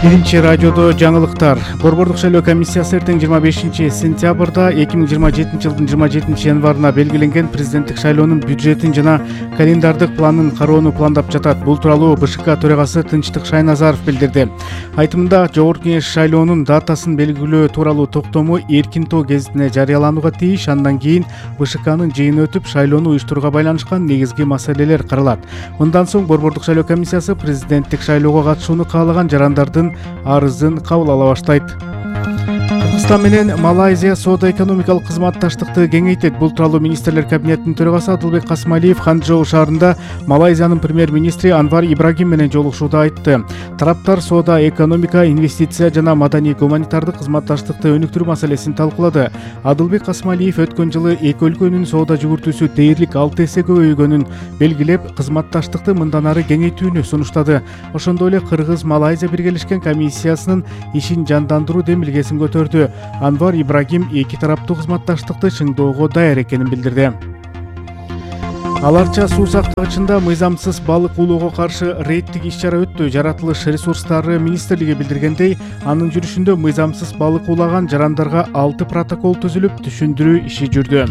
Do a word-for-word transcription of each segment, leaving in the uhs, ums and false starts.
Биринчи радиодо жаңылыктар. Борбордук шайлоо комиссиясы эртең жыйырма бешинчи сентябрда эки миң жыйырма жетинчи жылдын жыйырма жетинчи январына белгиленген президенттик шайлоонун бюджетин жана календардык планын кароону пландап жатат. Бул тууралуу БШК төрагасы Тынчтык Шайназаров билдирди. Айтымында Жогорку Кеңеш шайлоонун датасын белгилөө тууралуу токтому эркин тоо гезитине жарыяланууга тийиш. Андан кийин БШКнын жыйыны өтүп, шайлоону уюштурууга байланышкан негизги маселелер каралат. Мындан соң Борбордук шайлоо комиссиясы президенттик шайлоого катышууну каалаган жарандардын арызын кабыл ала баштайт. Кыргызстан менен Малайзия соода-экономикалык кызматташтыкты кеңейтет. Бул тууралуу министрлер кабинетинин төрагасы Адылбек Касмалиев Ханчжоу шаарында Малайзиянын премьер-министри Анвар Ибрагим менен жолугушууда айтты. Тараптар соода, экономика, инвестиция жана маданий-гуманитардык кызматташтыкты өнүктүрүү маселесин талкуулады. Адылбек Касмалиев өткөн жылы эки өлкөнүн соода жүгүртүүсү дээрлик алты эсе көбөйгөнүн белгилеп, кызматташтыкты мындан ары кеңейтүүнү сунуштады. Ошондой эле Кыргыз-Малайзия биргелешкен комиссиясынын ишин жандандыруу демилгесин көтөрдү. Анвар Ибрагим эки тараптуу кызматташтыкты чыңдоого даяр экенин билдирди. Аларча суу сактагычында мыйзамсыз балык уулоого каршы рейдтик иш-чара өттү. Жаратылыш ресурстары министрлиги билдиргендей, анын жүрүшүндө мыйзамсыз балык уулаган жарандарга алты протокол түзүлүп, түшүндүрүү иши жүрдү.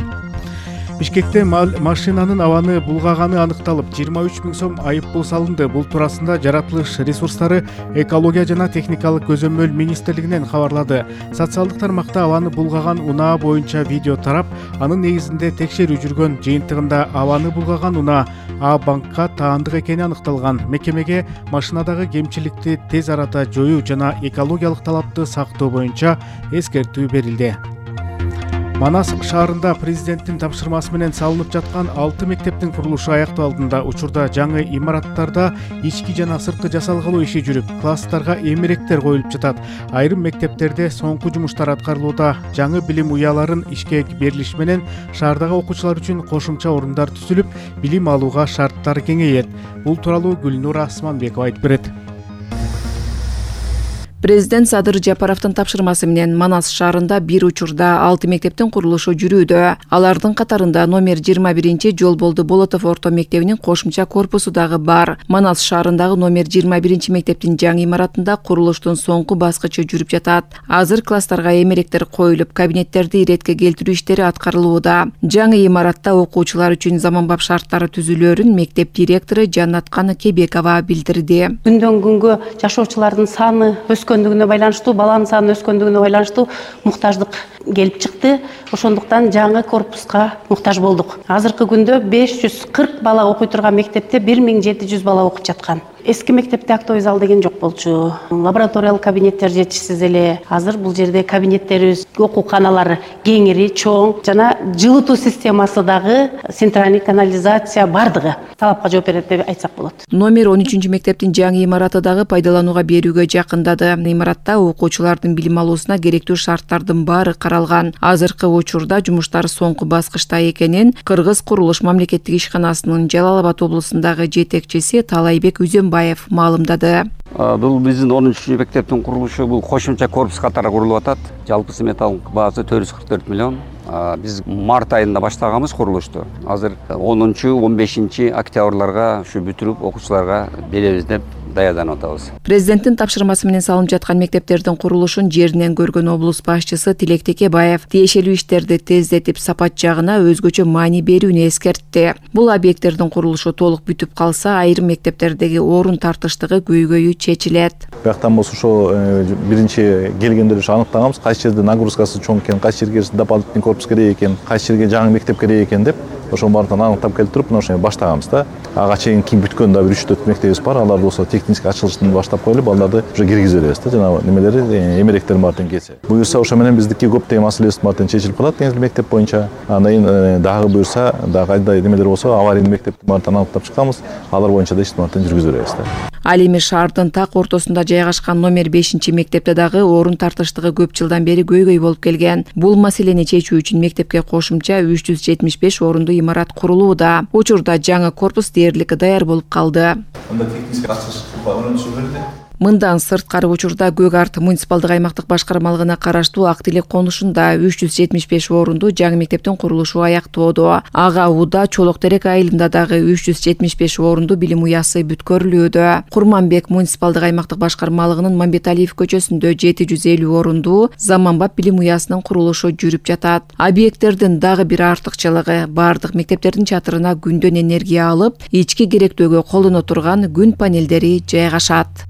Бишкекте машинанын абаны булгаганы аныкталып, жыйырма үч миң сом айыппул салынды. Бул туурасында Жаратылыш ресурстары, экология жана техникалык көзөмөл министрлигинен кабарлады. Социалдык тармакта абаны булгаган унаа боюнча видео тарап, анын негизинде текшерүү жүргөн. Жыйынтыгында абаны булгаган унаа А банкка таандык экени аныкталган. Мекемеге машинадагы кемчиликти тез арада жоюу жана экологиялык талапты сактоо боюнча эскертүү берилди. Манас шаарында президенттин тапшырмасы менен салынып жаткан алты мектептин курулушу аякталдığında учурда жаңы имараттарда ички жана сырткы жасалгалоо иши жүрүп, класстарга эмеректер коюлуп жатат. Айрым мектептерде соңку жумуштар аткарылууда. Жаңы билим уяларын ишке берилиш менен шаардагы окуучулар үчүн кошумча орундар түзүлүп, билим алууга шарттар кеңейет. Бул тууралуу Гүлнура Асманбекова айтып берет. Президент Садыр Жапаровдун тапшырмасы менен Манас шаарында бир учурда алты мектептин курулушу жүрүүдө. Алардын катарында номер жыйырма биринчи Жолболду Болотов орто мектебинин кошумча корпусу дагы бар. Манас шаарындагы номер жыйырма биринчи мектептин жаңы имаратында курулуштун соңку баскычы жүрүп жатат. Азыр класстарга эмеректер коюлуп, кабинеттерди иретке келтирүү иштери аткарылууда. Жаңы имаратта окуучулар үчүн заманбап шарттары түзүлөөрүн мектеп директору Жаннаткан Кебекова билдирди. Күндөн күнгө жашоочулардын саны өскөндүгүнө байланыштуу, баланын саны өскөндүгүнө байланыштуу муктаждык келип чыкты. Ошондуктан жаңы корпуска муктаж болдук. Азыркы күндө беш жүз кырк бала окуй турган мектепте бир миң жети жүз бала окуп жаткан. Эски мектепте актовый зал деген жок болчу. Лабораториялык кабинеттер жетишсиз эле. Азыр бул жерде кабинеттерибиз, окууканалар кеңири, чоң жана жылытуу системасы дагы, центральный канализация бардыгы талапка жооп берет деп айтсак болот. Номер он үчүнчү мектептин жаңы имараты дагы пайдаланууга берүүгө жакындады. Имаратта окуучулардын билим алуусуна керектүү шарттардын баары каралган. Азыркы учурда жумуштар соңку баскычта экенин Кыргыз курулуш мамлекеттик ишканасынын Жалал Абад облусундагы жетекчиси Талайбек Үзөнбаев маалымдады. Бул биздин он үчүнчү мектептин курулушу бул кошумча корпус катары курулуп атат. Жалпы сметалык баасы төрт жүз кырк төрт миллион. Биз март айында баштаганбыз курулушту. Азыр онунчу он бешинчи октябрларга ушу бүтүрүп окуучуларга беребиз деп даярданып атабыз. Президенттин тапшырмасы менен салынып жаткан мектептердин курулушун жеринен көргөн облус башчысы Тилек Текебаев тиешелүү иштерди тездетип, сапат жагына өзгөчө маани берүүнү эскертти. Бул объекттердин курулушу толук бүтүп калса, айрым мектептердеги орун тартыштыгы көйгөйү чечилет. Бияктан болсо ошо биринчи келгенде ушу аныктаганбыз, кайсы жерде нагрузкасы чоң экен, кайсы жерге дополнительный корпус керек экен, кайсы жерге жаңы мектеп керек экен деп ошонун баарын аныктап келип туруп, ошо баштаганбыз да. Ага чейин кийин бүткөн да бир үч төрт мектебибиз бар. Алар болсо техник ачылыштын баштап коюлуп, балдарды уже киргизип беребиз да. Жана немелери, эмеректердин баарын келсе. Буюрса ошо менен биздики көптөгөн маселебиз баарын чечилип калат деңиз мектеп боюнча. Андан кийин дагы буюрса, дагы кайда немелер болсо, аварийный мектептин баарын аныктап чыкканбыз. Алар боюнча да иштин баарын жүргүзүп беребиз да. Ал эми шаардын так ортосунда жайгашкан номер бешинчи мектепте дагы орун тартыштыгы көп жылдан бери көйгөй болуп келген. Бул маселени чечүү үчүн мектепке кошумча үч жүз жетимиш беш орундуу имарат курулууда. Учурда жаңы корпус дээрлик даяр болуп калды. Анда техник ачылыш көрүнүшү берди. Мындан сырткары учурда Көк Арт муниципалдык аймактык башкармалыгына караштуу Актилек конушунда үч жүз жетимиш беш орундуу жаңы мектептин курулушу аяктоодо. Ага Уда Чолок Терек айылында дагы үч жүз жетимиш беш орундуу билим уясы бүткөрүлүүдө. Курманбек муниципалдык аймактык башкармалыгына башкармалыгынын Мамбеталиев көчөсүндө жети жүз элүү орундуу заманбап билим уясынын курулушу жүрүп жатат. Объекттердин дагы бир артыкчылыгы баардык мектептердин чатырына күндөн энергия алып, ички керектөөгө колдоно турган күн панелдери жайгашат.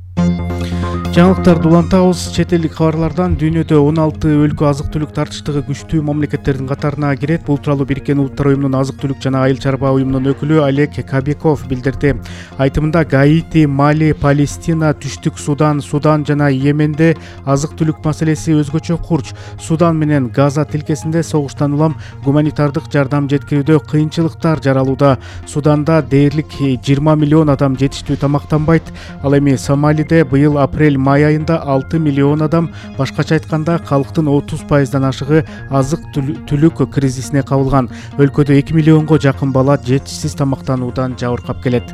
Жаңылыктарды улантабыз. Чет элдик кабарлардан дүйнөдө он алты өлкө азык-түлүк тартыштыгы күчтүү мамлекеттердин катарына кирет. Бул тууралуу Бириккен Улуттар уюмунун азык-түлүк жана айыл чарба уюмунун өкүлү Олег Кабеков билдирди. Айтымында Гаити, Мали, Палестина, Түштүк Судан, Судан жана Йеменде азык-түлүк маселеси өзгөчө курч. Судан менен Газа тилкесинде согуштан улам гуманитардык жардам жеткирүүдө кыйынчылыктар жаралууда. Суданда дээрлик жыйырма миллион адам жетиштүү тамактанбайт. Ал эми Сомалиде быйыл апрель май айында алты миллион адам, башкача айтканда калктын отуз пайыздан ашыгы азык-түлүк кризисине кабылган. Өлкөдө эки миллионго жакын бала жетишсиз тамактануудан жабыркап келет.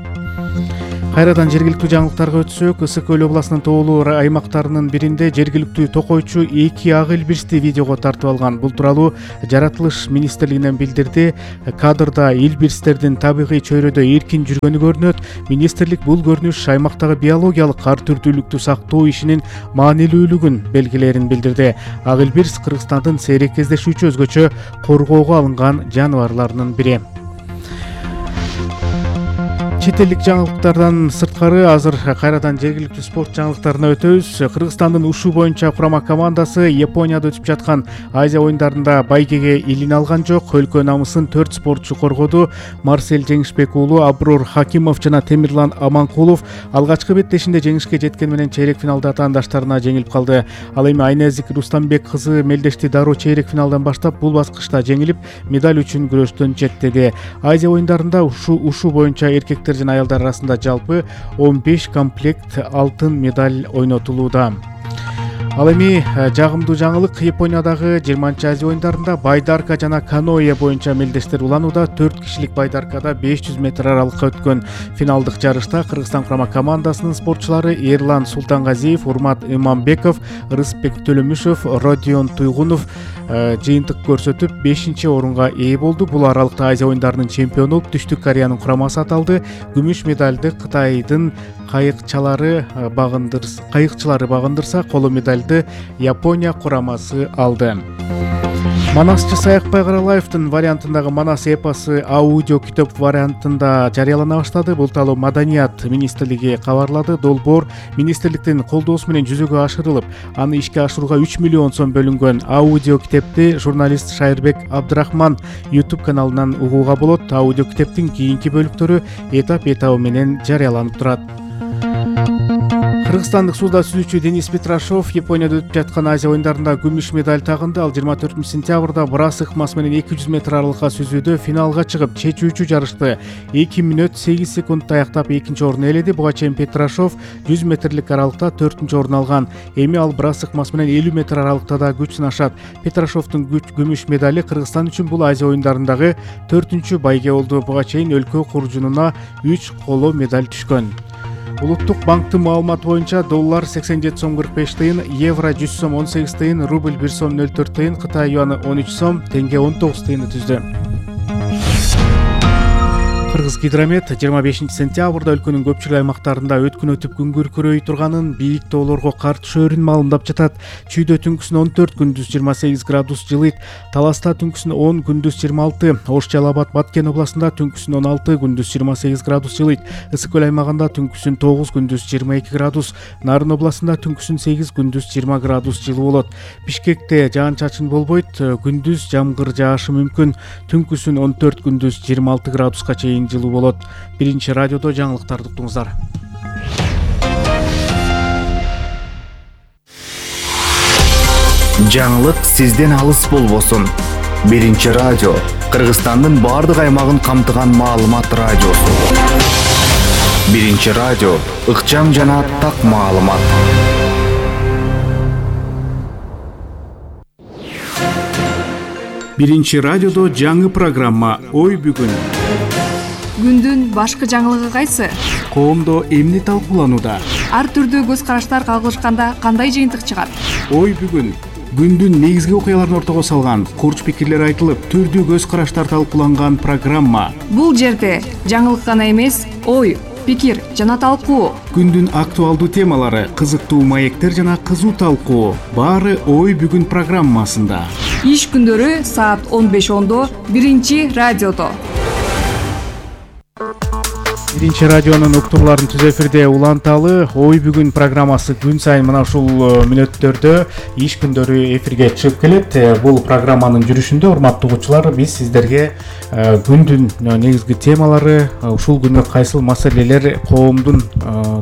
Кайрадан жергиликтүү жаңылыктарга өтсөк, Ысык Көл областынын тоолуу аймактарынын биринде жергиликтүү токойчу эки ак илбирсти видеого тартып алган. Бул тууралуу Жаратылыш министрлигинен билдирди. Кадрда илбирстердин табигый чөйрөдө эркин жүргөнү көрүнөт. Министрлик бул көрүнүш аймактагы биологиялык ар түрдүүлүктү сактоо ишинин маанилүүлүгүн белгилерин билдирди. Ак илбирс Кыргызстандын сейрек кездешүүчү өзгөчө коргоого алынган жаныбарларынын бири. Чет элдик жаңылыктардан сырткары азыр кайрадан жергиликтүү спорт жаңылыктарына өтөбүз. Кыргызстандын ушу боюнча курама командасы Японияда өтүп жаткан Азия оюндарында байгеге илине алган жок. Өлкө намысын төрт спортчу коргоду. Марсель Жеңишбек уулу, Абрур Хакимов жана Темирлан Аманкулов алгачкы беттешинде жеңишке жеткен менен чейрек финалда атаандаштарына жеңилип калды. Ал эми Айназик Рустамбек кызы Мелдешти Дару чейрек финалдан баштап бул баскычта жеңилип, медаль үчүн күрөштөн четтеди. Азия оюндарында ушу ушу боюнча эркектер жана аялдар арасында жалпы он беш комплект алтын медаль ойнотулууда. Ал эми жагымдуу жаңылык, Япониядагы жыйырманчы Азия оюндарында байдарка жана каноэ боюнча мелдештер уланууда. төрт кишилик байдаркада беш жүз метр аралыкка өткөн финалдык жарышта Кыргызстан курама командасынын спортчулары Эрлан Султангазиев, Урмат Имамбеков, Рыспек Төлөмүшев, Родион Туйгунов жыйынтык көрсөтүп бешинчи орунга ээ болду. Бул аралыкта Азия оюндарынын чемпиону Түштүк Кореянын курамасы аталды. Күмүш медальды Кытайдын кайыкчалары багындырса, кайыкчылары багындырса, коло медальды Япония курамасы алды. Манасчы Саякбай Каралаевдин вариантындагы Манас эпосы аудио китеп вариантында жарыялана баштады. Бул тууралуу Маданият министрлиги кабарлады. Долбоор министрликтин колдоосу менен жүзөгө ашырылып, аны ишке ашырууга үч миллион сом бөлүнгөн. Аудио китепти журналист Шайырбек Абдрахман YouTube каналынан угууга болот. Аудио китептин кийинки бөлүктөрү этап этабы менен жарыяланып турат. Кыргызстандык сууда сүзүүчү Денис Петрашов Японияда өтүп жаткан Азия оюндарында күмүш медаль тагынды. Ал жыйырма төртүнчү сентябрда брас ыкмасы менен эки жүз метр аралыкка сүзүүдө финалга чыгып, чечүүчү жарышты эки мүнөт сегиз секундда аяктап экинчи орун ээледи. Буга чейин Петрашов жүз метрлик аралыкта төртүнчү орун алган. Эми ал брас ыкмасы менен элүү метр аралыкта да күч сынашат. Петрашовдун күмүш медали Кыргызстан үчүн бул Азия оюндарындагы төртүнчү байге болду. Буга чейин өлкө куржунуна үч коло медаль түшкөн. Улуттук банктын маалыматы боюнча доллар сексен жети сом кырк беш тыйын, евро жүз сом он сегиз тыйын, рубль бир сом нөл төрт тыйын, Кытай юаны он үч сом, тенге он тогуз тыйынды түздү. Кыргыз Гидромет жыйырма бешинчи сентябрда өлкөнүн көпчүлүк аймактарында өткөн өтүп күн күркүрөй турганын, бийик тоолорго кар түшөөрүн маалымдап жатат. Чүйдө түнкүсүн он төрт, күндүз жыйырма сегиз градус жылыйт. Таласта түнкүсүн он, күндүз жыйырма алты. Ош Жалал Абад Баткен областында түнкүсүн он алты, күндүз жыйырма сегиз градус жылыйт. Ысык Көл аймагында түнкүсүн тогуз, күндүз жыйырма эки градус. Нарын областында түнкүсүн сегиз, күндүз жыйырма градус жылуу болот. Бишкекте жаан-чачын болбойт, күндүз жамгыр жаашы мүмкүн. Түнкүсүн он төрт, күндүз жыйырма алты градуска чейин жылуу болот. Биринчи радиодо жаңылыктарды уктуңуздар. Жаңылык сизден алыс болбосун. Биринчи радио Кыргызстандын баардык аймагын камтыган маалымат радиосу. Биринчи радио ыкчам жана так маалымат. Биринчи радиодо жаңы программа Ой бүгүн. Күндүн башкы жаңылыгы кайсы? Коомдо эмне талкууланууда? Ар түрдүү көз караштар кагылышканда кандай жыйынтык чыгат? Ой бүгүн. Күндүн негизги окуяларын ортого салган, курч пикирлер айтылып, түрдүү көз караштар талкууланган программа. Бул жерде жаңылык гана эмес, ой, пикир жана талкуу, күндүн актуалдуу темалары, кызыктуу маектер жана кызуу талкуу баары ой бүгүн программасында. Иш күндөрү саат он беш ондо биринчи радиодо. Биринчи радионун уктурларын түз эфирде уланталы ой бүгүн программасы күн сайын мына ушул мүнөттөрдө иш күндөрү эфирге чыгып келет. Бул программанын жүрүшүндө урматтуу угуучулар биз сиздерге күндүн негизги темалары, ушул күнү кайсыл маселелер коомдун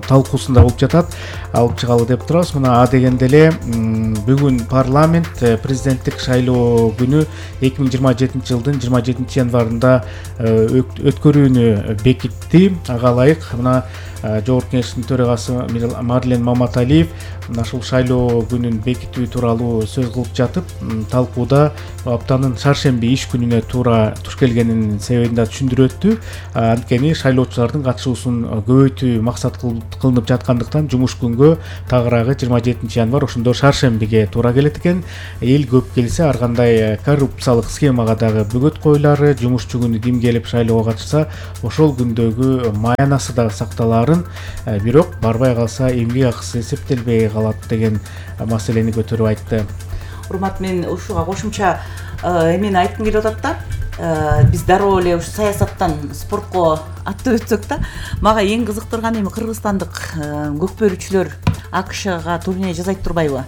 талкуусунда болуп жатат алып чыгалы деп турабыз. Мына а дегенде эле бүгүн парламент президенттик шайлоо күнү эки миң жыйырма жетинчи жылдын жыйырма жетинчи январында өткөрүүнү бекитти. Ага ылайык мына Жогорку Кеңештин төрагасы Марлен Маматалиев мына ушул шайлоо күнүн бекитүү тууралуу сөз кылып жатып, талкууда аптанын шаршемби иш күнүнө туура туш келгенин себебин да түшүндүрүп өттү. Анткени шайлоочулардын катышуусун көбөйтүү максат кылынып жаткандыктан жумуш күнгө тагыраагы жыйырма жетинчи январь ошондо шаршембиге туура келет экен. Эл көп келсе ар кандай коррупциялык схемага дагы бөгөт коюлары, жумушчу күнү ким келип шайлоого катышса ошол күндөгү маянасы дагы сакталаарын, бирок барбай калса эмгек акысы эсептелбей калат деген маселени көтөрүп айтты. Урмат, мен ушуга кошумча эмени айткым келип атат да. Биз дароо эле ушу саясаттан спортко аттап өтсөк да, мага эң кызыктырганы эми кыргызстандык көкбөрүүчүлөр АКШга турне жасайт турбайбы?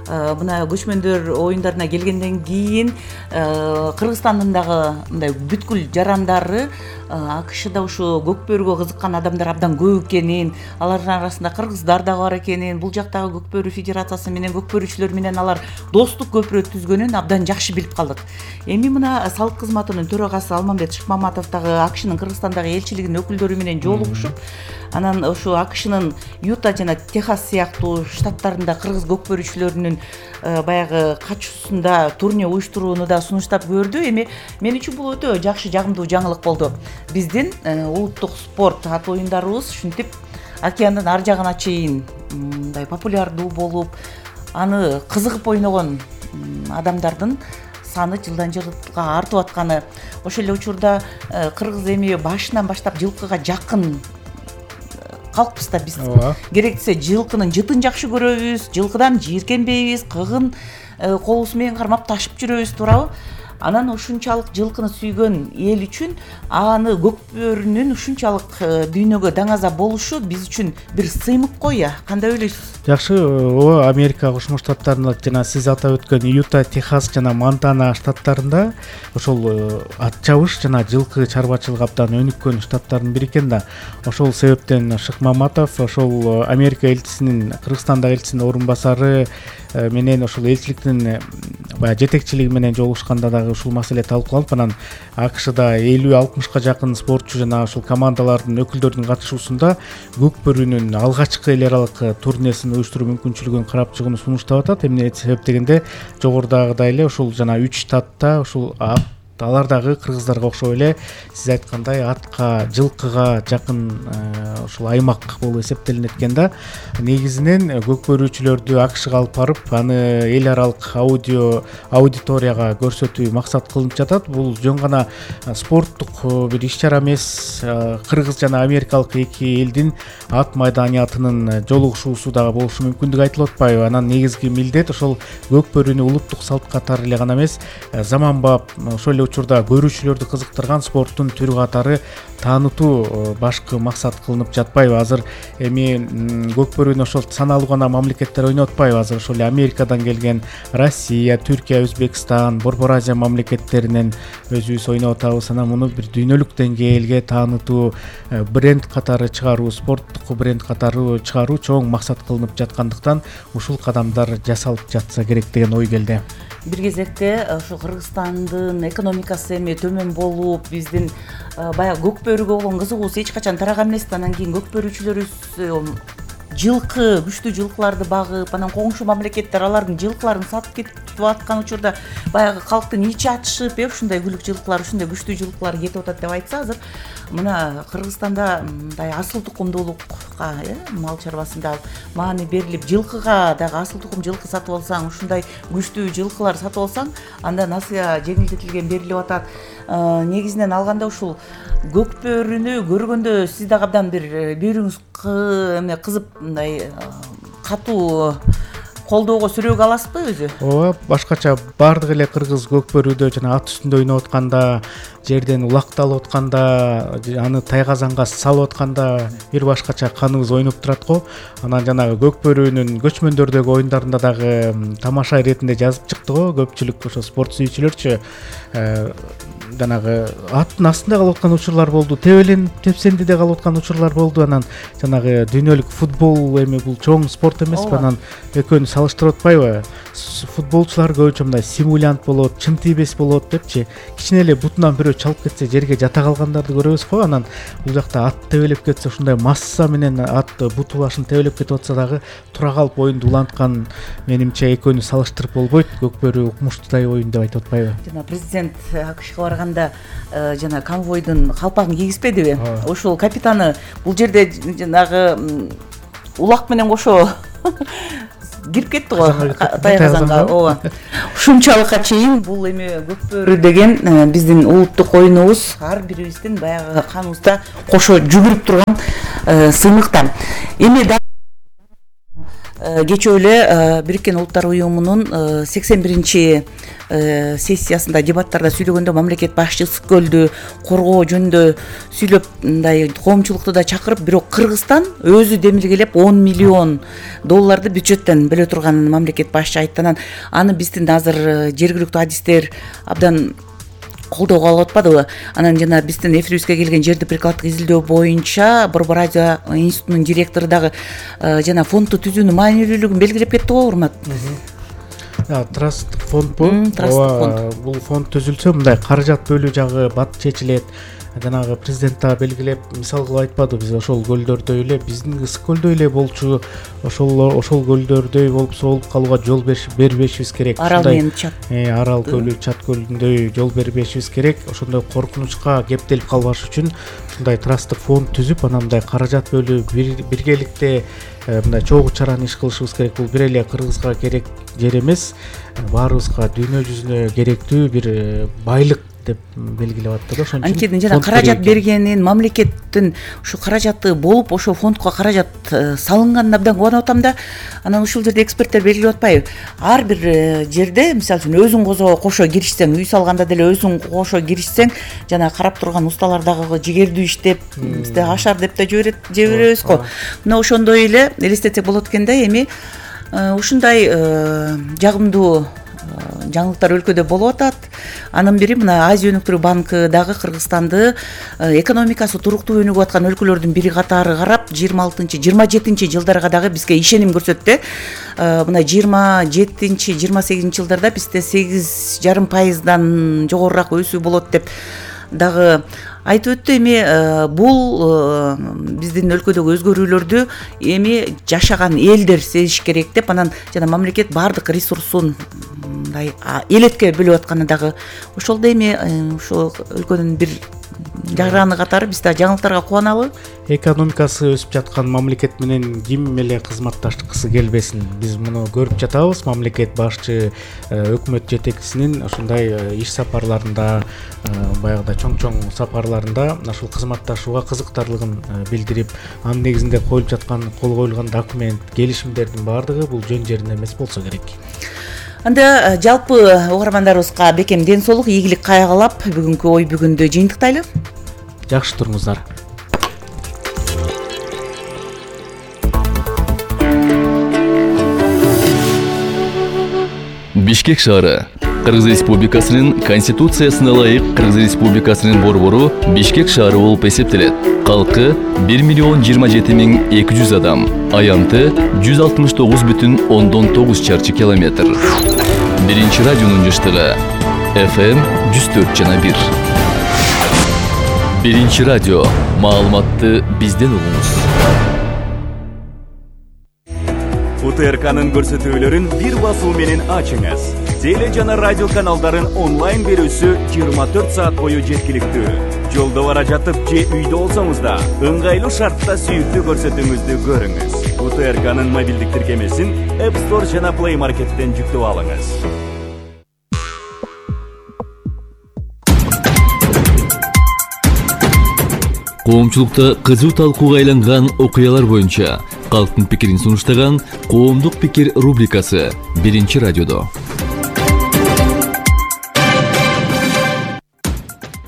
Мына көчмөндөр оюндарына келгенден кийин Кыргызстандын дагы мындай бүткүл жарандары АКШда ушу көкбөрүүгө кызыккан адамдар абдан көп экенин, алардын арасында кыргыздар дагы бар экенин, бул жактагы көкбөрүү федерациясы менен көкбөрүүчүлөр менен алар достук көпүрө түзгөнүн абдан жакшы билип калдык. Эми мына салык кызматынын төрагасы Алмамбет Шыкмаматов дагы АКШнын Кыргызстандагы элчилигинин өкүлдөрү менен жолугушуп, анан ушу АКШнын Юта жана Техас сыяктуу штаттарында кыргыз көкбөрүүчүлөрүнүн баягы катышуусунда турне уюштурууну да сунуштап көрдү. Эми мен үчүн бул өтө жакшы, жагымдуу жаңылык болду. Биздин улуттук спорт ат оюндарыбыз ушинтип океандын ар жагына чейин мындай популярдуу болуп, аны кызыгып ойногон адамдардын саны жылдан жылга артып атканы, ошол эле учурда кыргыз эми башынан баштап жылкыга жакын калкпыз да биз. Керектсе жылкынын жытын жакшы көрөбүз, жылкыдан жийиркенбейбиз, кыгын колубуз менен кармап ташып жүрөбүз, туурабы? Анан ушунчалык жылкыны сүйгөн эл үчүн аны көкбөрүнүн ушунчалык дүйнөгө даңаза болушу биз үчүн бир сыймык го, я кандай ойлойсуз? Жакшы, о Америка Кошмо Штаттарында жана сиз атап өткөн Юта, Техас жана Монтана штаттарында ошол ат чабыш жана жылкы чарбачылыгы абдан өнүккөн штаттардын бири экен да. Ошол себептен Шыкмаматов ошол Америка элчисинин, Кыргызстандагы элчисинин орун басары менен ошол элчиликтин баягы жетекчилиги менен жолугушканда дагы ушул маселе талкууланып, анан АКШда элүү алтымышка жакын спортчу жана ушул командалардын өкүлдөрүнүн катышуусунда көкбөрүүнүн алгачкы эл аралык турнесин уюштуруу мүмкүнчүлүгүн карап чыгууну сунуштап атат. Эмне себеп дегенде жогорудагыдай эле ушул жана үч штатта ушул алар дагы кыргыздарга окшоп эле сиз айткандай атка, жылкыга жакын ушул аймак болуп эсептелинет экен да. Негизинен көкбөрүүчүлөрдү АКШга алып барып, аны эл аралык аудио аудиторияга көрсөтүү максат кылынып жатат. Бул жөн гана спорттук бир иш-чара эмес, кыргыз жана америкалык эки элдин ат маданиятынын жолугушуусу дагы болушу мүмкүндүгү айтылып атпайбы? Анан негизги милдет ошол көкбөрүүнү улуттук салт катары эле гана эмес, заманбап ошол эле учурда көрүүчүлөрдү кызыктырган спорттун түрү катары таанытуу башкы максат кылынып жатпайбы? Азыр эми көкбөрүүнү ошол саналуу гана мамлекеттер ойноп атпайбы? Азыр ошол эле Америкадан келген Россия, Түркия, Өзбекстан, Борбор Азия мамлекеттеринен өзүбүз ойноп атабыз. Анан муну бир дүйнөлүк деңгээлге таанытуу, бренд катары чыгаруу, спорттук бренд катары чыгаруу чоң максат кылынып жаткандыктан ушул кадамдар жасалып жатса керек деген ой келди. Бир кезекте ошо Кыргызстандын экономикасы эми төмөн болуп, биздин баягы көкбөрүүгө болгон кызыгуубуз эч качан тараган эмес. Анан кийин көкбөрүүчүлөрүбүз жылкы, күчтүү жылкыларды багып, анан коңшу мамлекеттер алардын жылкыларын сатып кетип аткан учурда баягы калктын ичи атышып, э ушундай күлүк жылкылар, ушундай күчтүү жылкылар кетип атат деп айтса, азыр мына Кыргызстанда мындай асыл тукумдуулукка, э мал чарбасында маани берилип, жылкыга дагы асыл тукум жылкы сатып алсаң, ушундай күчтүү жылкылар сатып алсаң, анда насыя жеңилдетилген берилип атат. негизинен алганда ушул көкпөрүнү көргөндө сиз дагы абдан бир бүйрүңүз кызып мындай катуу колдоого сүрөөгө аласызбы өзү? ооба, башкача баардык эле кыргыз көкпөрүдө жана ат үстүндө ойноп атканда, жерден улакталып атканда, аны тайгазанга салып атканда бир башкача каныбыз ойноп турат го. Анан жанагы көкпөрүнүн көчмөндөрдөгү оюндарында дагы тамаша иретинде жазып чыкты го. Көпчүлүк ошо спорт сүйүүчүлөрчү жанагы аттын астында калып аткан учурлар болду, тебеленип тепсендиде калып аткан учурлар болду. Анан жанагы дүйнөлүк футбол эми бул чоң спорт эмеспи, анан экөөнү салыштырып атпайбы? Футболчулар көбүнчө мындай симулянт болот, чын тийбес болот депчи, кичине эле бутунан бирөө чалып кетсе жерге жата калгандарды көрөбүз го. Анан бул жакта ат тебелеп кетсе, ушундай масса менен ат буту башын тебелеп кетип атса дагы тура калып оюнду уланткан, менимче экөөнү салыштырып болбойт. Көкпөрү укмуштуудай оюн деп айтып атпайбы? Жана президент АКШга барганда жана конвойдун калпагын кийгизбедиби? Ошол капитаны бул жерде жанагы улак менен кошо кирип кетти го тайгазанга. ооба. Ушунчалыкка чейин бул эми көкпөрү деген биздин улуттук оюнубуз, ар бирибиздин баягы каныбызда кошо жүгүрүп турган сыймыктар. Эми кечээ эле Бириккен Улуттар уюмунун сексен биринчи сессиясында дебаттарда сүйлөгөндө мамлекет башчысы көлдү коргоо жөнүндө сүйлөп, мындай коомчулукту да чакырып, бирок Кыргызстан өзү демилгелеп он миллион долларды бюджеттен бөлө турганын мамлекет башчы айтты. Анан аны биздин азыр жергиликтүү адистер абдан колдоого алып атпадыбы? Анан жана биздин эфирибизге келген жерди прикладдык изилдөө боюнча Борбор радио институтунун директору дагы жана фондду түзүүнүн маанилүүлүгүн белгилеп кетти го, урмат. Траст фонд бул. Бул фонд түзүлсө мындай каражат бөлүү жагы бат чечилет. Жанагы президент да белгилеп, мисал кылып айтпады, биз ошол көлдөрдөй эле, биздин ысык көлдөй эле болчу, ошол ошол көлдөрдөй болуп соолуп калууга жол бербешибиз керек. Арал менен Чат. Э, Арал көлү, Чат көлүндөй жол бербешибиз керек. Ошондой коркунучка кептелип калбаш үчүн мындай трасттык фонд түзүп, анан мындай каражат бөлүү, биргеликте мындай чогуу чараны иш кылышыбыз керек. Бул бир эле Кыргызга керек жер эмес, баарыбызга дүйнө жүзүнө керектүү бир байлык деп белгилеп атты да. Ошон үчүн анткени жана каражат бергенин, мамлекеттин ушу каражаты болуп, ошо фондко каражат салынганына абдан кубанып атам да. Анан ушул жерде эксперттер белгилеп атпайбы? Ар бир жерде, мисалы үчүн өзүң козо кошо киришсең, үй салганда деле өзүң кошо киришсең, жана карап турганусталар дагы жигердүү иштеп, бизде ашар деп да жиберет, жиберебиз го. Мына ошондой эле элестетсек болот экен да. Эми ушундай жагымдуу жаңылыктар өлкөдө болуп атат. Анын бири мына Азия өнүктүрүү банкы дагы Кыргызстанды экономикасы туруктуу өнүгүп аткан өлкөлөрдүн бири катары карап, жыйырма алтынчы жыйырма жетинчи жылдарга дагы бизге ишеним көрсөттү. Мына жыйырма жетинчи жыйырма сегизинчи жылдарда бизде сегиз жарым пайыздан жогорураак өсүү болот деп дагы айтып өттү. Эми бул биздин өлкөдөгү өзгөрүүлөрдү эми жашаган элдер сезиш керек деп, анан жана мамлекет баардык ресурсун мындай элетке бөлүп атканы дагы ошол да эми ошол өлкөнүн бир жараны катары биз да жаңылыктарга кубаналы. Экономикасы өсүп жаткан мамлекет менен ким эле кызматташкысы келбесин. Биз муну көрүп жатабыз. Мамлекет башчы, өкмөт жетекчисинин ушундай иш сапарларында, баягыда чоң-чоң сапарларында ушул кызматташууга кызыктарлыгын билдирип, анын негизинде коюлуп жаткан, кол коюлган документ, келишимдердин баардыгы бул жөн жеринде эмес болсо керек. Анда жалпы угармандарыбызга бекем ден соолук, ийгилик кайгылап бүгүнкү ой бүгүндө жыйынтыктайлы. Жакшы туруңуздар. Бишкек шаары Кыргыз Республикасынын Конституциясына ылайык Кыргыз Республикасынын борбору Бишкек шаары болуп эсептелет. Калкы бир миллион жыйырма жети миң эки жүз адам, аянты жүз алтымыш тогуз бүтүн ондон тогуз чарчы километр. Биринчи радионун жыштыгы эф эм жүз төрт жана бир. Биринчи радио, маалыматты бизден угуңуз. У Т Р К'нын көрсөтүүлөрүн бир басуу менен ачыңыз. Теле жана радио каналдарын онлайн берүүсү жыйырма төрт саат бою жеткиликтүү. Жолдо бара жатып же үйдө болсоңуз да, ыңгайлуу шартта сүйүктүү көрсөтүүңүздү көрүңүз. У Т Р К'нын мобилдик тиркемесин App Store жана Play Market'тен жүктөп алыңыз. коомчулукта кызуу талкууга айланган окуялар боюнча калктын пикирин сунуштаган коомдук пикир рубрикасы Биринчи радиодо.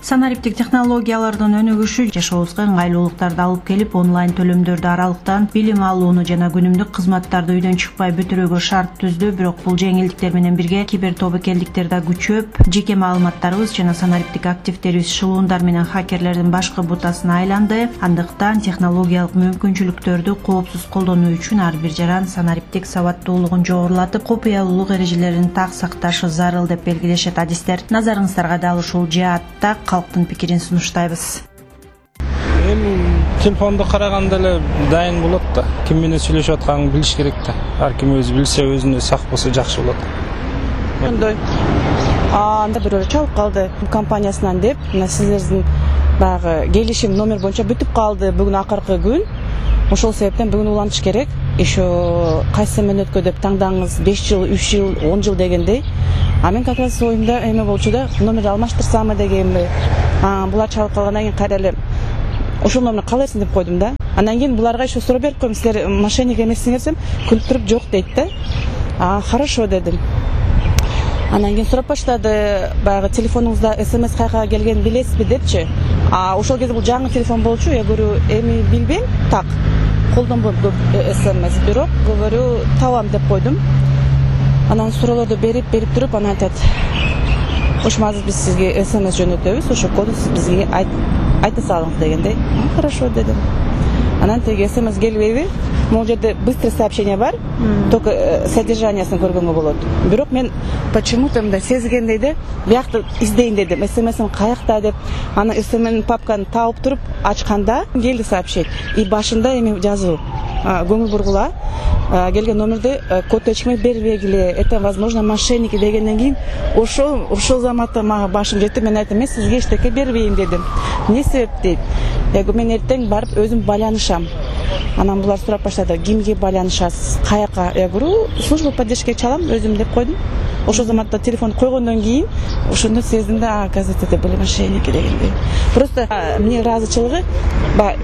Санариптик технологиялардын өнүгүшү жашообузга ыңгайлуулуктарды алып келип, онлайн төлөмдөрдү аралыктан билим алууну жана күнүмдүк кызматтарды үйдөн чыкпай бүтүрүүгө шарт түздү. Бирок бул жеңилдиктер менен бирге кибер тобокелдиктер да күчөп, жеке маалыматтарыбыз жана санариптик активдерибиз шылуундар менен хакерлердин башкы бутасына айланды. Андыктан технологиялык мүмкүнчүлүктөрдү коопсуз колдонуу үчүн ар бир жаран санариптик сабаттуулугун жогорулатып, купуялуулук эрежелерин так сакташы зарыл деп белгилешет адистер. Назарыңыздарга дал ушул жаатта калктын пикирин сунуштайбыз. Эми телефонду караганда эле дайын болот да. Ким менен сүйлөшүп атканын билиш керек да. Ар ким өзү билсе, өзүнө сак болсо жакшы болот. Мындай анда бирөө чалып калды компаниясынан деп, мына сиздердин баягы келишим номер боюнча бүтүп калды бүгүн акыркы күн. Ошол себептен бүгүн улантыш керек. Еще кайсы мүнөткө деп таңдаңыз, беш жыл, үч жыл, он жыл дегендей. А мен как раз оюмда эме болчу да, номер алмаштырсамбы дегенби. А булар чалып калгандан кийин кайра эле ошол номерди калайсың деп койдум да. Андан кийин буларга еще суроо берип коем, силер мошенник эмессиңер десем, күлүп туруп жок дейт да. А хорошо дедим. Андан кийин сурап баштады, баягы телефонуңузда смс кайка келгенин билесизби депчи. А ошол кезде бул жаңы телефон болчу, я говорю, эми билбейм, так. Колдонбойм көп смс, бирок говорю, табам деп койдум. Анан суроолорду берип, берип туруп, анан айтат, ошо азыр биз сизге смс жөнөтөбүз, ошо коду сиз бизге айта салыңыз дегендей. Хорошо дедим. Анан теги смс келбейби? Могул жерде быстрый сообщение бар, только содержаниясын көргөнгө болот. Бирок мен почему-то мындай сезгендей де, биякты издейин дедим, смсим каякта деп. Аны смс папканы таап туруп, ачканда келди сообщение. И башында эми жазуу. Көңүл бургула келген номерди код ачмай бербегиле, это возможно мошенники дегенден кийин ошол ошол заматта мага башым жетти. Мен айттым, мен сизге эчтеке бербейм дедим. Эмне себеп дейт? Я говорю, мен эртең барып өзүм байланышам. Анан булар сурап баштады, кимге байланышасыз, каяка? Я говорю, служба поддержки чалам өзүм деп койдум. Ошол заматта телефон койгондон кийин ошондо сездим да, оказывается, это были мошенники дегендей. Просто мне ыраазычылыгы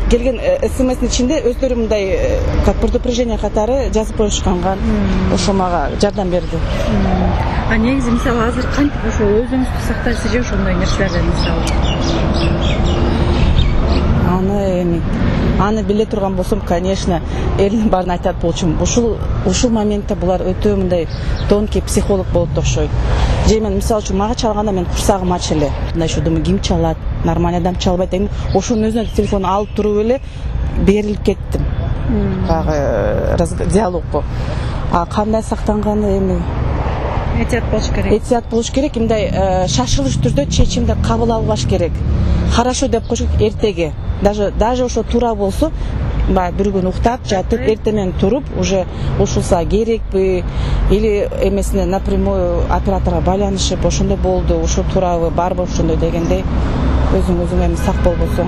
келген смстин ичинде өздөрү мындай как предупреждение катары жазып коюшканга, ошо мага жардам берди. А негизи мисалы азыр кантип ошо өзүңүздү сактайсыз же ошондой нерселерден мисалы? Аны эми аны биле турган болсом, конечно, элдин баарын айтат болчумун. Ушул ушул моментте булар өтө мындай тонкий психолог болот окшойт. Же мен мисалы үчүн мага чалганда мен курсагым ач эле. Мындай шу думаю, ким чалат? Нормальный адам чалбайт деген. Ошонун өзүнө телефонду алып туруп эле берилип кеттим. Багы диалогго. А кандай сактанганы эми этият болуш керек. Этият болуш керек, мындай шашылыш түрдө чечимди кабыл албаш керек. Хорошо деп коюш эртеге. Даже даже ошо туура болсо, баягы бир күн уктап, жатып, эртемен туруп, уже ушулса керекпи или эмесине напрямую операторго байланышып, ошондой болду, ушул туурабы, барбы ошондой дегендей өзүң өзүң эми сак болбосоң.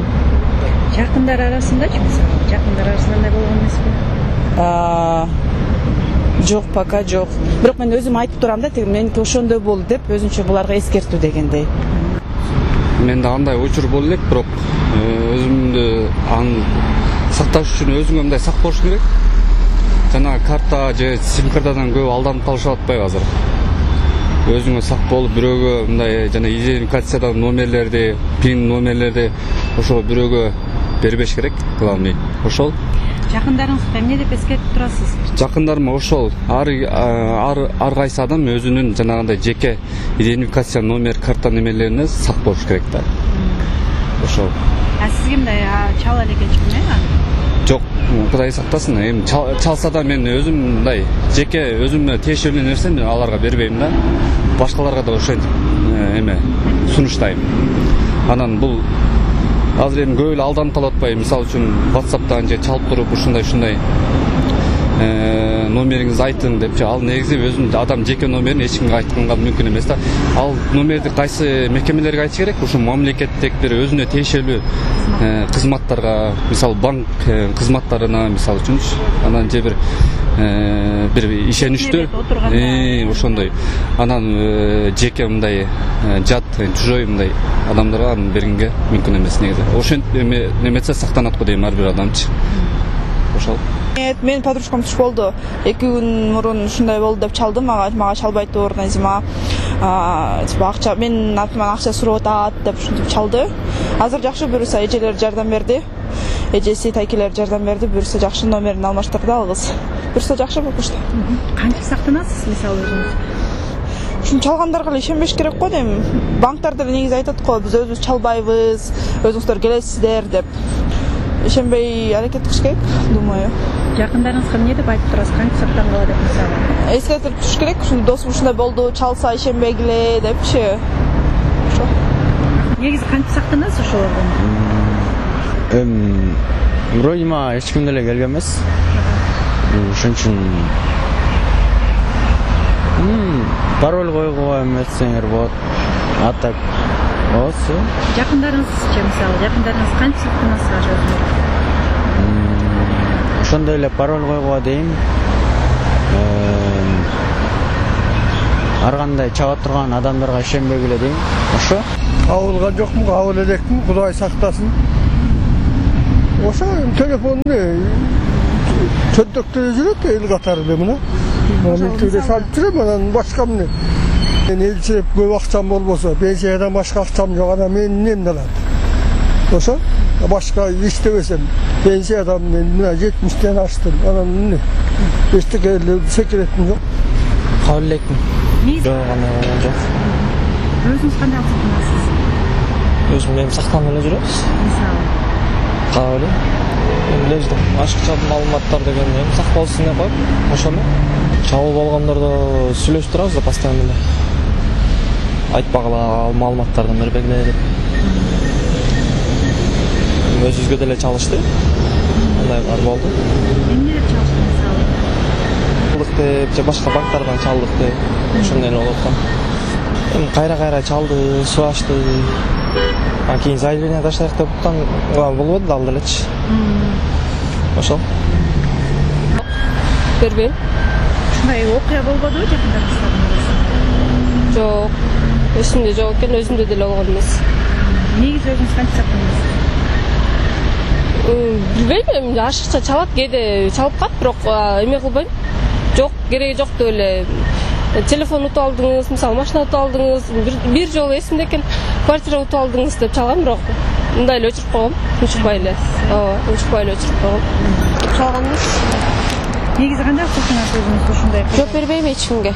Жакындар арасындачы мисалы? Жакындар арасында андай болгон эмеспи? Жок, пока жок. Бирок мен өзүм айтып турам да, меники ошондой болду деп, өзүнчө буларга эскертүү дегендей. Менде андай учур боло элек, бирок өзүмдү аны сакташ үчүн өзүңө мындай сак болуш керек. Жана карта же сим картадан көп алданып калышып атпайбы азыр? Өзүңө сак болуп, бирөөгө мындай жана идентификациядагы номерлерди, пин номерлерди ошо бирөөгө бербеш керек, главный. Ошол. Жакындарыңызга эмне деп эскертип турасыз? Жакындарыма ошол ар ар ар кайсы адам өзүнүн жанагындай жеке идентификация номер, карта немелерине сак болуш керек да. Ошол. А сизге мындай чала элекечпи аны? Жок, Кудай сактасын. Эми чалса да мен өзүм мындай жеке өзүмө тиешелүү нерсени аларга бербейм да. Башкаларга да ошентип эме сунуштайм. Анан бул азыр эми көп эле алданып калып атпайбы? Мисалы үчүн WhatsApp'тан же чалып туруп ушундай ушундай номериңизди айтың депчи, ал негизи өзүнүн адам жеке номерин эч кимге айтканга мүмкүн эмес да. Ал номерди кайсы мекемелерге айтыш керек? Ушу мамлекеттик бир өзүнө тиешелүү кызматтарга, мисалы банк кызматтарына, мисалы үчүн, анан же бир бир ишеничтүү ошондой анан жеке мындай жат чужой мындай адамдарга аны бергенге мүмкүн эмес негизи. Ошентип неметсе сактанат го дейм ар бир адамчы. Ошол. Мен подружкам туш болду. эки күн мурун ушундай болду деп чалды мага. Мага чалбайт оор Назима. Типа акча мен артыман акча сурап атат деп ушинтип чалды. Азыр жакшы, буюрса эжелер жардам берди. Эжеси, тайкелер жардам берди. Буюрса жакшы номерин алмаштырды ал кыз. Буюрса жакшы болуп калды. Кантип сактанасыз мисалы өзүңүз? Ушун чалгандарга эле ишенбеш керек го дейм. Банктар деле негизи айтат го, биз өзүбүз чалбайбыз, өзүңүздөр келесиздер деп. Ишенбей аракет кылыш керек, думаю. Жакындарыңызга эмне деп айтып турасыз? Кантип сактангыла деп мисалы? Эскертип туруш керек, ушул досум ушундай болду, чалса ишенбегиле депчи. Ошо. Негизи кантип сактанасыз ошолордон? Эм, вроде ма эч ким деле келген эмес. Ошон үчүн пароль койгуга эметсеңер болот. А так Осы. Жакындарыңызчы, мисалы, жакындарыңыз кантип сактанасыз өзүңүз? Ошондой эле пароль койгуга дейм. Ар кандай чаба турган адамдарга ишенбегиле дейм. Ошо. Абылган жокмун, абыл элекмин, Кудай сактасын. Ошо телефонду чөнтөктө жүрөт эл катары эле мына. Мен түрдө салып жүрөм, анан башка эмне? Мен элчилеп көп акчам болбосо, пенсиядан башка акчам жок, анан мен эмне алат? Ошо башка иштебесем, пенсиядан мен мына жетимиштен аштым, анан эмне? Эчтеке эле секретим жок. Кабыл элекмин. Жок, анан жок. Өзүңүз кандай сактанасыз? Өзүм мен сактанып эле жүрөбүз. Мисалы. Кабыл. Эмне ашыкча маалыматтар деген эми сакталсын деп коюп, ошону чабыл болгондордо сүйлөшүп турабыз да постоянно эле. Айтпагыла маалыматтардан бербегиле деп. Өзүбүзгө деле чалышты. Андай бар болду. Эмне деп чалышты мисалы? Чалдык деп, же башка банктардан чалдык деп, ошондой эле болуп калды. Эми кайра-кайра чалды, сурашты. Анан кийин заявление таштайык деп аткан болбоду да ал делечи. Ошол. Бербейм. Ушундай окуя болбодубу жакындарыңыздын арасында? Жок. Эсимде жок экен, өзүмдө деле болгон эмес. Негизи өзүңүз кантип сактанасыз? Билбейм, ашыкча чалат, кээде чалып калат, бирок эме кылбайм. Жок, кереги жок деп эле телефон утуп алдыңыз, мисалы машина утуп алдыңыз, бир жолу эсимде экен, квартира утуп алдыңыз деп чалгам, бирок мындай эле өчүрүп койгом, учурбай эле. Ооба, учурбай эле өчүрүп койгом. Чалган эмес. Негизи кандай сактанасыз өзүңүз ушундай? Жооп бербейм эч кимге.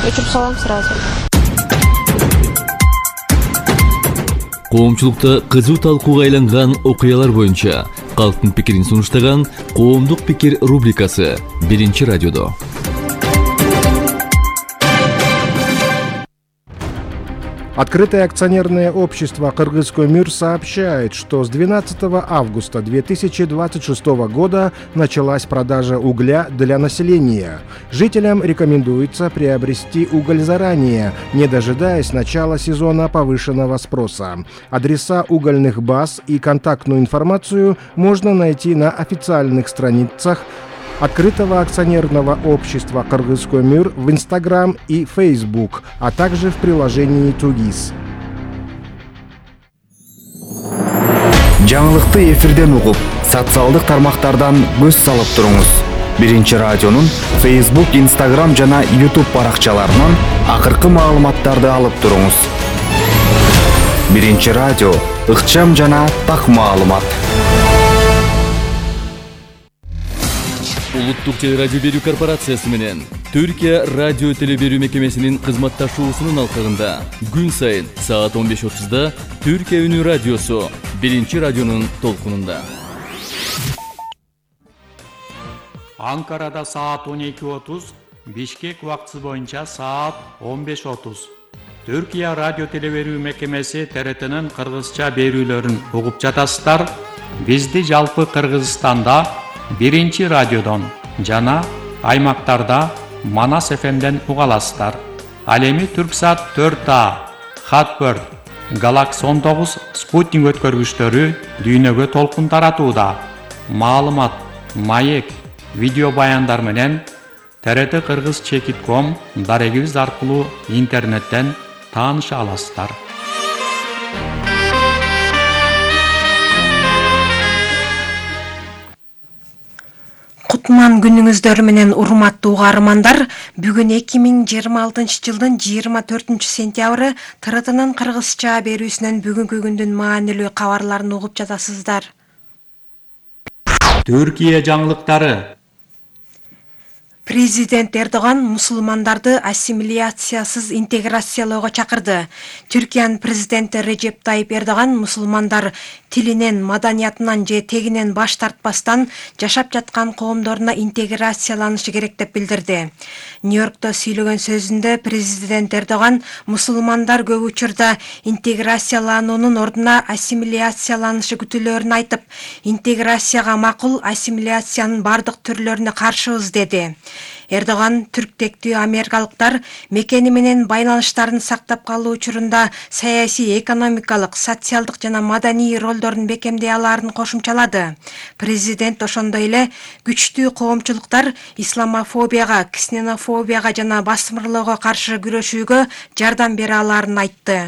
Өчүрүп салам сразу. Коомчулукта кызуу талкууга айланган окуялар боюнча калктын пикирин сунуштаган Коомдук пикир рубрикасы биринчи радиодо. Открытое акционерное общество «Кыргызкөмүр» сообщает, что с двенадцатого августа две тысячи двадцать шестого года началась продажа угля для населения. Жителям рекомендуется приобрести уголь заранее, не дожидаясь начала сезона повышенного спроса. Адреса угольных баз и контактную информацию можно найти на официальных страницах Открытого акционерного общества «Кыргызкөмүр» в Инстаграм и Фейсбук, а также в приложении Тугис. Жаңылыкты эфирден угуп, социалдык тармактардан көз салып туруңуз. Биринчи радионун Фейсбук, Инстаграм жана Ютуб баракчаларынан акыркы маалыматтарды алып туруңуз. Биринчи радио, ыкчам жана так маалымат. Улуттук телерадио берүү корпорациясы менен Түркия радио телеберүү мекемесинин кызматташуусунун алкагында күн сайын саат он беш отузда Түркия үнү радиосу биринчи радионун толкунунда. Анкарада саат он эки отуз, Бишкек убактысы боюнча саат он беш отуз. Түркия радио телеберүү мекемеси Т Р Т'нын кыргызча берүүлөрүн угуп жатасыздар. Бизди жалпы Кыргызстанда биринчи радиодон жана аймактарда Манас эф эмден уга аласыздар. Ал эми Түрксат төрт А, Хатберд, Галакс он тогуз спутник өткөргүчтөрү дүйнөгө толкун таратууда. Маалымат, маек, видео баяндар менен т р т кыргыз чекит ком дарегибиз аркылуу интернеттен тааныша аласыздар. Кутман күнүңүздөр менен урматтуу угармандар, бүгүн эки миң жыйырма алтынчы жылдын жыйырма төртүнчү сентябры Т R T'нын кыргызча берүүсүнөн бүгүнкү күндүн маанилүү кабарларын угуп жатасыздар. Түркия жаңылыктары. Президент Эрдоган мусулмандарды ассимиляциясыз интеграциялоого чакырды. Түркиянын президенти Режеп Тайип Эрдоган мусулмандар тилинен, маданиятынан же тегинен баш тартпастан жашап жаткан коомдоруна интеграцияланышы керек деп билдирди. Нью-Йоркто сүйлөгөн сөзүндө президент Эрдоган мусулмандар көп учурда интеграциялануунун ордуна ассимиляцияланышы күтүлөрүн айтып, интеграцияга макул, ассимиляциянын бардык түрлөрүнө каршыбыз деди. Эрдоган түрктектүү америкалыктар мекени менен байланыштарын сактап калуу учурунда саясий, экономикалык, социалдык жана маданий ролдорун бекемдей алаарын кошумчалады. Президент ошондой эле күчтүү коомчулуктар исламофобияга, ксенофобияга жана басмырлоого каршы күрөшүүгө жардам бере алаарын айтты.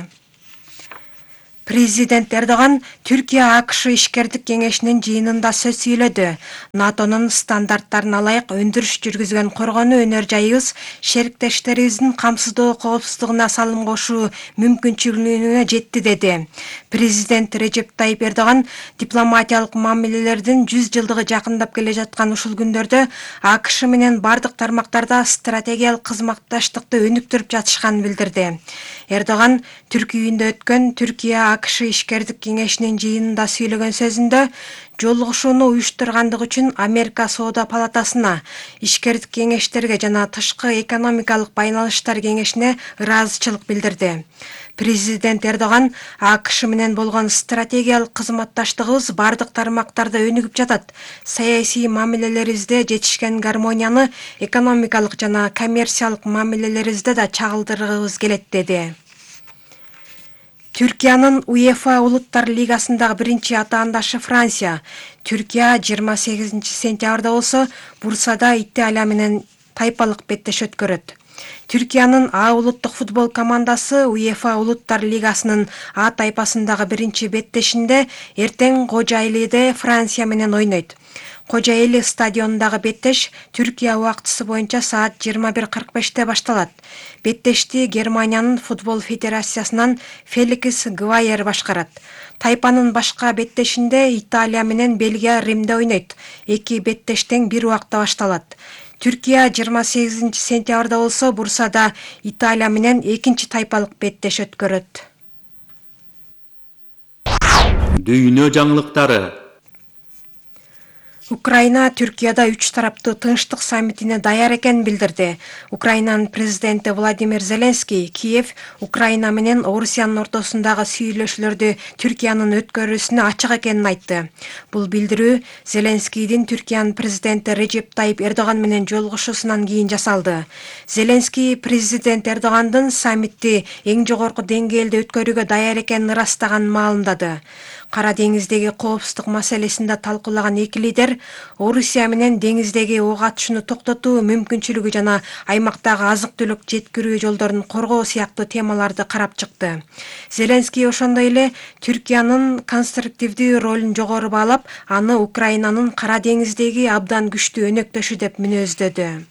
Президент Эрдоган Түркия АКШ ишкердик кеңешинин жыйынында сөз сүйлөдү. НАТОнун стандарттарына ылайык өндүрүш жүргүзгөн коргонуу өнөр жайыбыз шериктештерибиздин камсыздоо коопсуздугуна салым кошуу мүмкүнчүлүгүнө жетти деди. Президент Режеп Тайип Эрдоган дипломатиялык мамилелердин жүз жылдыгы жакындап келе жаткан ушул күндөрдө АКШ менен бардык тармактарда стратегиялык кызматташтыкты өнүктүрүп жатышканын билдирди. Эрдоган Түрк үйүндө өткөн Түркия АКШ ишкердик кеңешинин жыйынында сүйлөгөн сөзүндө жолугушууну уюштургандык үчүн Америка Соода палатасына, ишкердик кеңештерге жана тышкы экономикалык байланыштар кеңешине ыраазычылык билдирди. Президент Эрдоган АКШ менен болгон стратегиялык кызматташтыгыбыз бардык тармактарда өнүгүп жатат. Саясий мамилелерибизде жетишкен гармонияны экономикалык жана коммерциялык мамилелерибизде да чагылдыргыбыз келет деди. Түркиянын УЕФА Улуттар Лигасындагы биринчи атаандашы Франция. Түркия жыйырма сегизинчи сентябрда болсо Бурсада Италия менен тайпалык беттеш өткөрөт. Түркиянын А улуттук футбол командасы УЕФА Улуттар Лигасынын А тайпасындагы биринчи беттешинде эртең Кожойлиде Франция менен ойнойт. Кожойли стадионундагы беттеш Түркия убактысы боюнча саат жыйырма бир кырк беште башталат. Беттешти Германиянын футбол федерациясынан Феликс Гвайер башкарат. Тайпанын башка беттешинде Италия менен Бельгия Римде ойнойт. Эки беттеш тең бир убакта башталат. Түркия жыйырма сегизинчи сентябрда болсо Бурсада Италия менен экинчи тайпалык беттеш өткөрөт. Дүйнө жаңылыктары. Украина Түркияда үч тараптуу тынчтык саммитине даяр экенин билдирди. Украинанын президенти Владимир Зеленский Киев Украина менен Орусиянын ортосундагы сүйлөшүүлөрдү Түркиянын өткөрүүсүнө ачык экенин айтты. Бул билдирүү Зеленскийдин Түркиянын президенти Режеп Тайип Эрдоган менен жолугушуусунан кийин жасалды. Зеленский президент Эрдогандын саммитти эң жогорку деңгээлде өткөрүүгө даяр экенин ырастаганын маалымдады. Кара деңиздеги коопсуздук маселесинде талкуулаган эки лидер Орусия менен деңиздеги ок атышууну токтотуу мүмкүнчүлүгү жана аймактагы азык-түлүк жеткирүү жолдорун коргоо сыяктуу темаларды карап чыкты. Зеленский ошондой эле Түркиянын конструктивдүү ролун жогору баалап, аны Украинанын Кара деңиздеги абдан күчтүү өнөктөшү деп мүнөздөдү.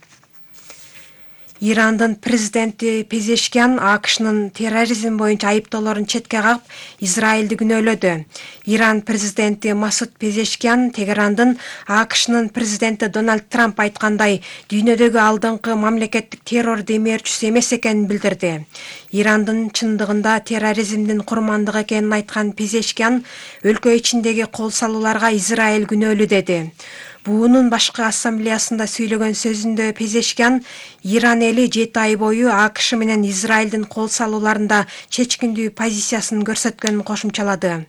Ирандын президенти Пезешкян АКШнын терроризм боюнча айыптоолорун четке кагып, Израилди күнөөлөдү. Иран президенти Масуд Пезешкян Тегерандын АКШнын президенти Дональд Трамп айткандай дүйнөдөгү алдыңкы мамлекеттик террор демөөрчүсү эмес экенин билдирди. Ирандын чындыгында терроризмдин курмандыгы экенин айткан Пезешкян өлкө ичиндеги кол салууларга Израиль күнөөлүү деди. Буунун башкы ассамблеясында сүйлөгөн сөзүндө Пезешкян Иран эли жети ай бою АКШ менен Израилдин кол салууларында чечкиндүү позициясын көрсөткөнүн кошумчалады.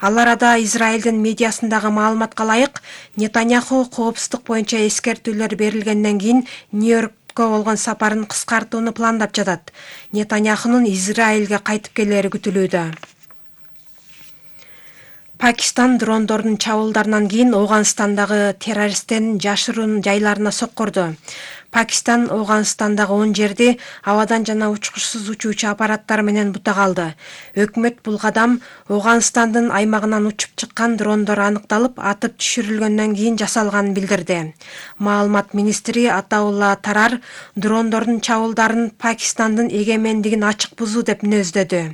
Ал арада Израилдин медиасындагы маалыматка ылайык, Нетаньяху коопсуздук боюнча эскертүүлөр берилгенден кийин Нью-Йоркко болгон сапарын кыскартууну пландап жатат. Нетаньяхунун Израилге кайтып келери күтүлүүдө. Пакистан дрондордун чабуулдарынан кийин Оганстандагы террористтердин жашыруун жайларына соккурду. Пакистан Ооганстандагы он жерди абадан жана учкучсуз учуучу аппараттар менен бутак алды. Өкмөт бул кадам Ооганстандын аймагынан учуп чыккан дрондор аныкталып, атып түшүрүлгөндөн кийин жасалганын билдирди. Маалымат министри Атаулла Тарар дрондордун чабуулдарын Пакистандын эгемендигин ачык бузуу деп мүнөздөдү.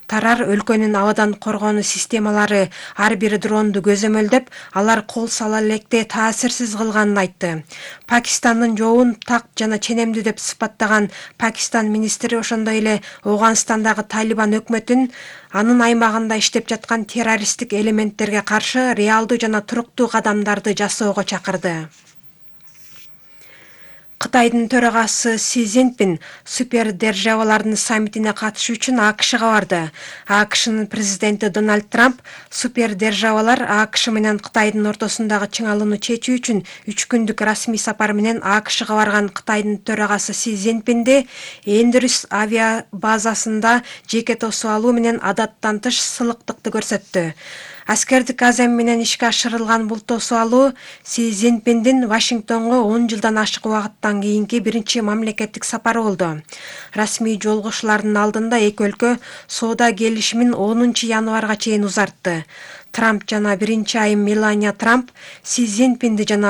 Тарар өлкөнүн абадан коргонуу системалары ар бир дронду көзөмөлдөп, алар кол сала электе таасирсиз кылганын айтты. Пакистандын жообун так жана ченемдүү деп сыпаттаган Пакистан министри ошондой эле Ооганстандагы Талибан өкмөтүн анын аймагында иштеп жаткан террористтик элементтерге каршы реалдуу жана туруктуу кадамдарды жасоого чакырды. Кытайдын төрагасы Си Цзиньпин супердержавалардын саммитине катышуу үчүн АКШга барды. АКШнын президенти Дональд Трамп супердержавалар АКШ менен Кытайдын ортосундагы чыңалууну чечүү үчүн үч күндүк расмий сапар менен АКШга барган Кытайдын төрагасы Си Цзиньпинди Эндрюс авиа базасында жеке тосуп алуу менен адаттан тыш сылыктыкты көрсөттү. Аскердик азем менен ишке ашырылган бул тосуп алуу Си Цзиньпиндин Вашингтонго он жылдан ашык убакыттан кийинки биринчи мамлекеттик сапары болду. Расмий жолугушуулардын алдында эки өлкө соода келишимин онунчу январга чейин узартты. Трамп жана биринчи айым Мелания Трамп Си Цзиньпинди жана